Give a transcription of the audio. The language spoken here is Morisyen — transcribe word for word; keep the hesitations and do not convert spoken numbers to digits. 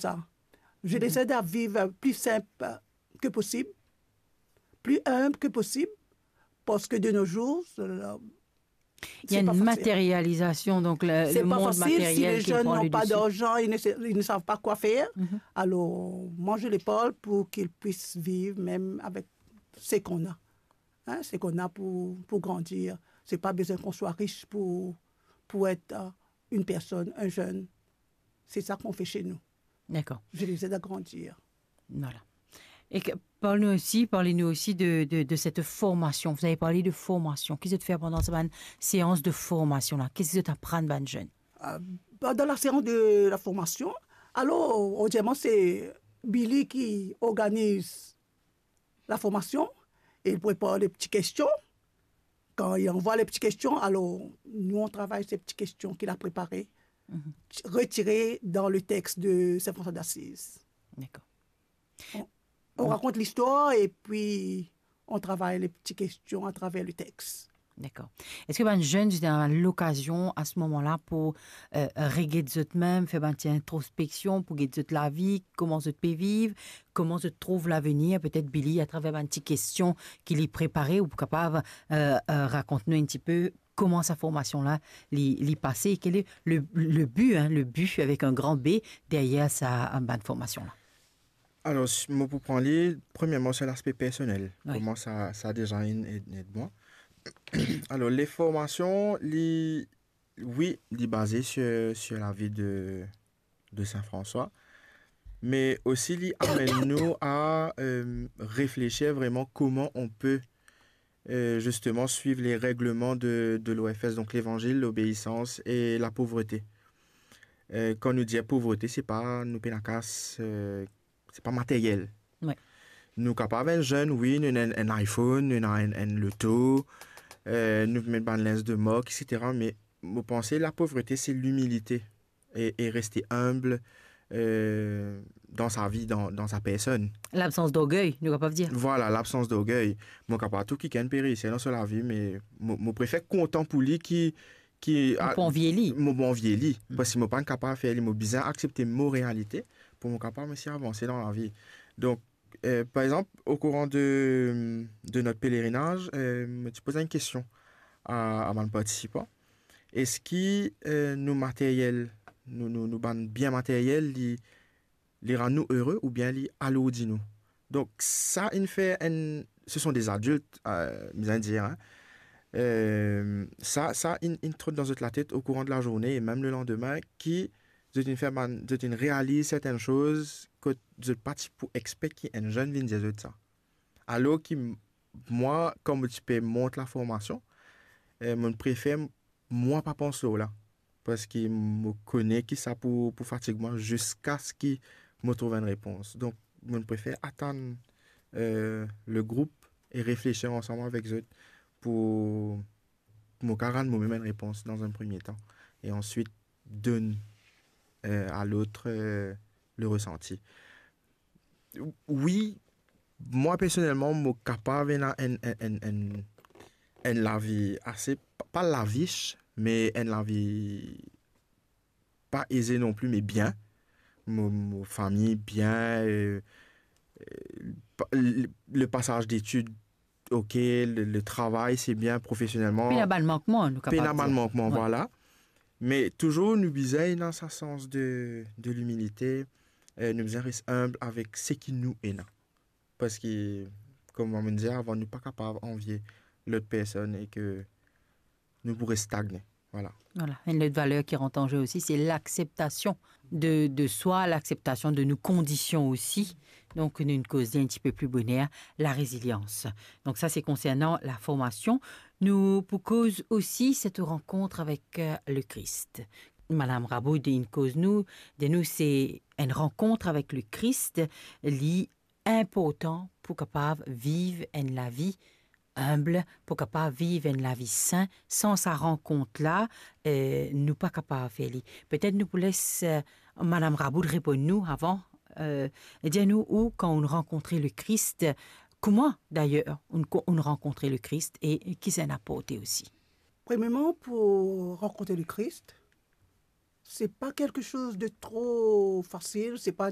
ça. Je les aide à vivre plus simple que possible, plus humble que possible, parce que de nos jours, euh, Il y a une matérialisation, donc le, c'est le pas monde facile si matériel les qui jeunes prend n'ont le pas dessus. D'argent, ils ne, sa- ils ne savent pas quoi faire. Alors, moi, je les parle pour qu'ils puissent vivre même avec ce qu'on a. Hein, ce qu'on a pour, pour grandir. C'est pas besoin qu'on soit riche pour, pour être euh, une personne, un jeune. C'est ça qu'on fait chez nous. D'accord. Je les aide à grandir. Voilà. Et que, parle-nous aussi, parlez-nous aussi de, de, de cette formation. Vous avez parlé de formation. Qu'est-ce que tu fais pendant cette séance de formation là? Qu'est-ce que tu apprends à jeunes? Euh, Pendant la séance de la formation, alors, obvieusement, c'est Billy qui organise la formation et il prépare les petites questions. Quand il envoie les petites questions, alors, nous, on travaille ces petites questions qu'il a préparées, retirées dans le texte de Saint François d'Assise. D'accord. On raconte l'histoire et puis on travaille les petites questions à travers le texte. D'accord. Est-ce que bann jeunes, zot ena lokazion a se moman la pou euh, reget zot mem, fer bann ti introspeksion, pou get zot lavi, kouma zot pe viv, kouma zot trouv lavenir, petet Billy, atraver bann ti kestion ki li prepare, ou pou kapav euh, euh, rakont nou enn tipe kouma sa formasion la li, li pase, quel est le, le but, hein, le but avec un grand B derrière sa euh, bann formasion la? Alors, si- mo pou pran li, premièrement, c'est l'aspect personnel. Oui. Comment ça, ça a déjà aidé aidé moi. Alors, les formations, li, oui, li basé sur, sur la vie de, de Saint François, mais aussi li amène nous à euh, réfléchir vraiment comment on peut euh, justement suivre les règlements de, de l'O F S, donc l'évangile, l'obéissance et la pauvreté. Euh, quand nous disons pauvreté, c'est pas nous pénakas, euh, c'est pas matériel. Ouais. Nou kapav enn jeune, oui, nou ena enn, enn iPhone, nou ena enn, enn loto, euh, nou met bann linz de mark, et cetera. Mais mo panse la pauvreté, c'est l'humilité et, et rester humble euh, dans sa vie, dans, dans sa personne. Labsans d'orgey, nou kapav dir. Voilà, l'absence d'orgueil. Mo kapav trouv kikenn pe reisi dan so lavi, me mo, mo prefer kontan pou li ki, ki Ou pa anvie li. Mo pa anvie li, parski mo pa kapav fer li, mo bizin aksepte mo realite pou mo kapav osi avanse dan lavi. Donk, euh, par exanp, au courant de, de notre pèlerinaj, euh, mo ti poz enn kestion a, a bann partisipan. Eski euh, nou materyel, nou, nou, nou bann bien materyel, li, li rann nou ere oubien li alourdi nou? Donk, sa inn fer enn, ce sont des adultes, euh, bizin dir, hein. Euh, sa, sa inn, inn trot dan zot latet au courant de la journée et même le lendemain, ki zot inn fer bann, zot inn realiz sertenn soz kot zot pa ti pou expect ki enn jeune vinn dir zot sa. Alor ki m-, mwa, kan mo ti pe mont la formasion, euh, mo prefer mwa pa pans lor la, parski mo kone ki sa pou, pou fatig mwa ziska ski mo trouv enn repons. Donk, mo prefer atann euh, le group e reflesir ansam avek zot pou mo kapav rann momem enn repons dan enn premie tan, e answit donn euh, a lot euh, le resanti. Wi, mwa personelman, mo kapav ena enn, enn, enn, enn, enn lavi ase, pa, pa lavich, me enn lavi pa eze non pli, me bien. Mo, mo fami bien, euh, euh, pa- le, le pasaz detid, ok, le, le travay, se bien profesionelman. Pena bann mankman, nou kapav Pena bann dir. mankman, Wi. Vwala. Me touzour nou bizin ena sa sans de, de limilite, euh, nou bizin res inb avek seki nou ena. Parski, kouma mo dir avan, nou pa kapav anvie lot personn e ke nou pou res stagne. Vwala. Voilà. Une autre valeur qui rentre en jeu aussi, c'est l'acceptation de, de soi, l'acceptation de nos conditions aussi. Donc, nou koz enn tipe pli boner, la résilience. Donc, ça, c'est concernant la formation. Nou pou koz aussi cette rencontre avec euh, le Christ. Madame Rabaud, inn koz nou, de nou, c'est une rencontre avec le Christ, li inportan pou kapav viv enn lavi inb, pou kapav viv enn lavi sin. San sa rankont la, euh, nou pa kapav fer li. Petet nou pou les euh, Madame Rabaud reponn nou avan, euh, dir nou ou kan ou rankontre le Christ, kouma d'ailleurs ou, ou rankontre le Christ e ki sa inn aporte aussi. Premièrement, pour rencontrer le Christ, c'est pas quelque chose de trop facile, c'est pas